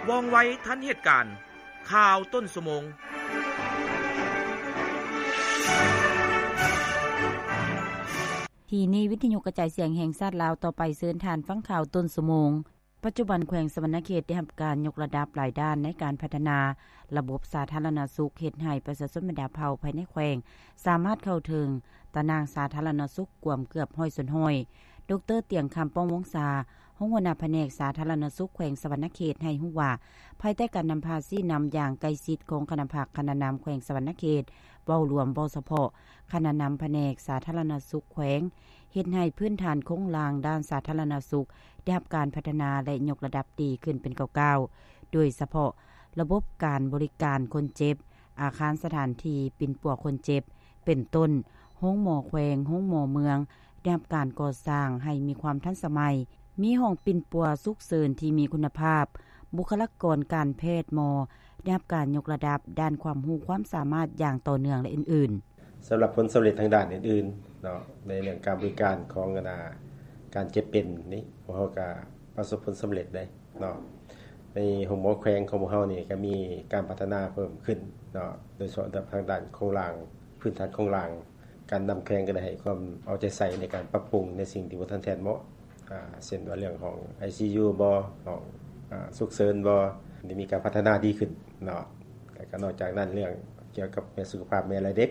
ວ່ອງໄວທັນເຫດການ. ຂ່າວຕົ້ນຊົ່ວໂມງ. ທີ່ນີ້ ວິທະຍຸກະຈາຍສຽງແຫ່ງຊາດລາວ ຕໍ່ໄປເຊີນທ່ານຟັງຂ່າວຕົ້ນຊົ່ວໂມງ. ປັດຈຸບັນແຂວງສະຫວັນນະເຂດໄດ້ຮັບການຍົກລະດັບຫຼາຍດ້ານໃນການພັດທະນາລະບົບສາທາລະນະສຸກ, ເຮັດໃຫ້ປະຊາຊົນບັນດາເຜົ່າພາຍໃນແຂວງ ສາມາດເຂົ້າເຖິງຕາໜ່າງສາທາລະນະສຸກກວມເກືອບຮ້ອຍສ່ວນຮ້ອຍ. ດຣ. ຕຽງຄຳ ປ້ອງວົງສາ, ຮອງຫົວໜ້າພະແນກສາທາລະນະສຸກແຂວງສະຫວັນນະເຂດ ໃຫ້ຮູ້ວ່າ, ພາຍໃຕ້ການນຳພາຊີ້ນຳຢ່າງໃກ້ຊິດຂອງຄະນະພັກຄະນະນຳແຂວງສະຫວັນນະເຂດ ເວົ້າລວມ, ເວົ້າສະເພາະຄະນະນຳພະແນກສາທາລະນະສຸກແຂວງ, ເຮັດໃຫ້ພື້ນຖານໂຄງລ່າງດ້ານສາທາລະນະສຸກໄດ້ຮັບການພັດທະນາ ແລະ ຍົກລະດັບດີຂຶ້ນເປັນກ້າວໆ, ໂດຍສະເພາະລະບົບການບໍລິການຄົນເຈັບ, ອາຄານສະຖານທີ່ປິ່ນປົວຄົນເຈັບ ເປັນຕົ້ນ ໂຮງໝໍແຂວງ, ໂຮງໝໍເມືອງ ໄດ້ຮັບການກໍ່ສ້າງໃຫ້ມີຄວາມທັນສະໄໝ, ມີຫ້ອງປິ່ນປົວສຸກເສີນທີ່ມີຄຸນນະພາບ, ບຸກຄະລາກອນການແພດ, ໝໍ ໄດ້ຮັບການຍົກລະດັບດ້ານຄວາມຮູ້ຄວາມສາມາດຢ່າງຕໍ່ເນື່ອງ ແລະ ອື່ນໆ. ສຳລັບຜົນສຳເລັດທາງດ້ານອື່ນໆເນາະ, ໃນເລື່ອງການບໍລິການຂອງ ອັນນ່າ ການເຈັບເປັນນີ້ ພວກເຮົາກະປະສົບຜົນສຳເລັດໄດ໋ເນາະ. ໃນໂຮງໝໍແຂວງຂອງພວກເຮົານີ້ກະມີການພັດທະນາເພີ່ມຂຶ້ນເນາະ, ໂດຍສະເພາະທາງດ້ານໂຄງລ່າງ, ພື້ນຖານໂຄງລ່າງ. ການນຳແຂວງກໍໄດ້ໃຫ້ຄວາມເອົາໃຈໃສ່ໃນການປັບປຸງໃນສິ່ງທີ່ບໍ່ທັນແທດເໝາະ, ອາ ເຊັ່ນວ່າເລື່ອງຫ້ອງໄອຊີຢູບໍ, ຫ້ອງ ອາ ສຸກເສີນບໍ, ໄດ້ມີການພັດທະນາດີຂຶ້ນເນາະ. ແລ້ວກໍນອກຈາກນັ້ນ ເລື່ອງກ່ຽວກັບແມ່ສຸຂະພາບແມ່ ແລະ ເດັກ,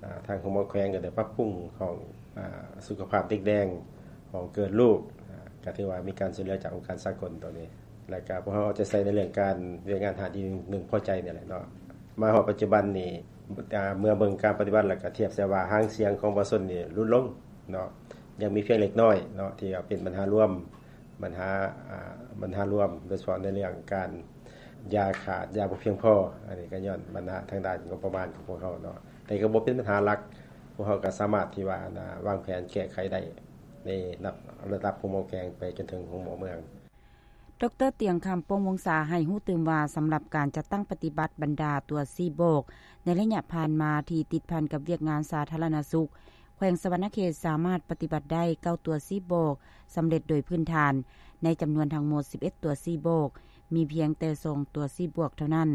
ອາ ທາງໂຮງໝໍແຂວງກໍໄດ້ປັບປຸງຫ້ອງ ອາ ສຸຂະພາບເດັກແດງ, ຫ້ອງເກີດລູກ, ອາ ກໍຖືວ່າມີການຊ່ວຍເຫຼືອຈາກອົງການສາກົນຕົວນີ້. ແລ້ວກໍພວກເຮົາເອົາໃຈໃສ່ໃນເລື່ອງການວຽກງານທາງດ້ານທີ່ເພິ່ງພໍໃຈນີ້ແຫຼະເນາະ. ມາຮອດປັດຈຸບັນນີ້ ອາ ເມື່ອເບິ່ງການປະຕິບັດ ແລ້ວກໍທຽບໃສ່ວ່າຫາງສຽງຂອງປະຊາຊົນນີ້ຫຼຸດລົງເນາະ, ຍັງມີພຽງເລັກນ້ອຍເນາະ ທີ່ວ່າເປັນບັນຫາລວມ, ບັນຫາ ອາ ບັນຫາລວມ ໂດຍສະເພາະໃນເລື່ອງການຢາຂາດ, ຢາບໍ່ພຽງພໍ. ອັນນີ້ກໍຍ້ອນບັນຫາທາງດ້ານງົບປະມານຂອງພວກເຮົາເນາະ, ແຕ່ກໍບໍ່ເປັນບັນຫາຫຼັກ, ພວກເຮົາກໍສາມາດທີ່ວ່າ ອັນນ່າ ວາງແຜນແກ້ໄຂໄດ້ໃນລະດັບໂຮງໝໍແຂວງໄປຈົນເຖິງໂຮງໝໍເມືອງ. ດຣ. ຕຽງຄຳ ປົງວົງສາ ໃຫ້ຮູ້ຕື່ມວ່າ ສຳລັບການຈັດຕັ້ງປະຕິບັດບັນດາຕົວຊີ້ບອກ ໃນໄລຍະຜ່ານມາທີ່ຕິດພັນກັບວຽກງານສາທາລະນະສຸກ, ແຂວງສະຫວັນນະເຂດສາມາດປະຕິບັດໄດ້ເກົ້າຕົວຊີ້ບອກສຳເລັດໂດຍພື້ນຖານ. ໃນຈຳນວນທັງໝົດສິບເອັດຕົວຊີ້ບອກ, ມີພຽງແຕ່ສອງຕົວຊີ້ບອກເທົ່ານັ້ນ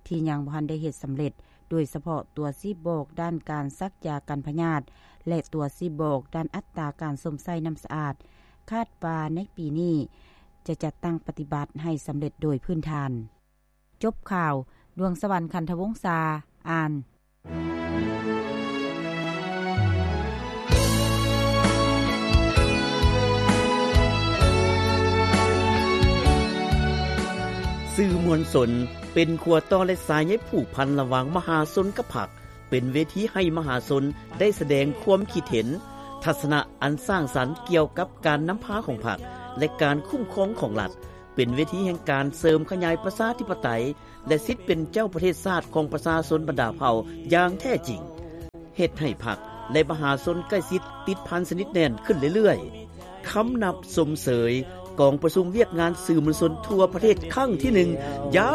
ທີ່ຍັງບໍ່ທັນໄດ້ເຮັດສຳເລັດ, ໂດຍສະເພາະຕົວຊີ້ບອກດ້ານການສັກຢາກັນພະຍາດ ແລະ ຕົວຊີ້ບອກດ້ານອັດຕາການຊົມໃຊ້ນ້ຳສະອາດ. ຄາດວ່າໃນປີນີ້ ຈະຈັດຕັ້ງປະຕິບັດໃຫ້ສຳເລັດໂດຍພື້ນຖານ. ຈົບຂ່າວ, ດວງສະຫວັນ ຂັນທະວົງສາ ອ່ານ. ສື່ມວນຊົນເປັນຂົວຕໍ່ ແລະ ສາຍໃຍຜູກພັນລະຫວ່າງມະຫາຊົນກັບພັກ. ເປັນເວທີໃຫ້ມະຫາຊົນໄດ້ສະແດງຄວາມຄິດເຫັນ, ທັດສະນະອັນສ້າງສັນກ່ຽວກັບການນຳພາຂອງພັກ ແລະ ການຄຸ້ມຄອງຂອງລັດ, ເປັນເວທີແຫ່ງການເສີມຂະຫຍາຍປະຊາທິປະໄຕ ແລະ ສິດເປັນເຈົ້າປະເທດຊາດຂອງປະຊາຊົນບັນດາເຜົ່າຢ່າງແທ້ຈິງ, ເຮັດໃຫ້ພັກ ແລະ ມະຫາຊົນໃກ້ຊິດຕິດພັນສະໜິດແໜ້ນຂຶ້ນເລື້ອຍໆ. ຄຳນັບຊົມເຊີຍກອງປະຊຸມວຽກງານສື່ມວນຊົນທົ່ວປະເທດຄັ້ງທີໜຶ່ງ ຢ່າງ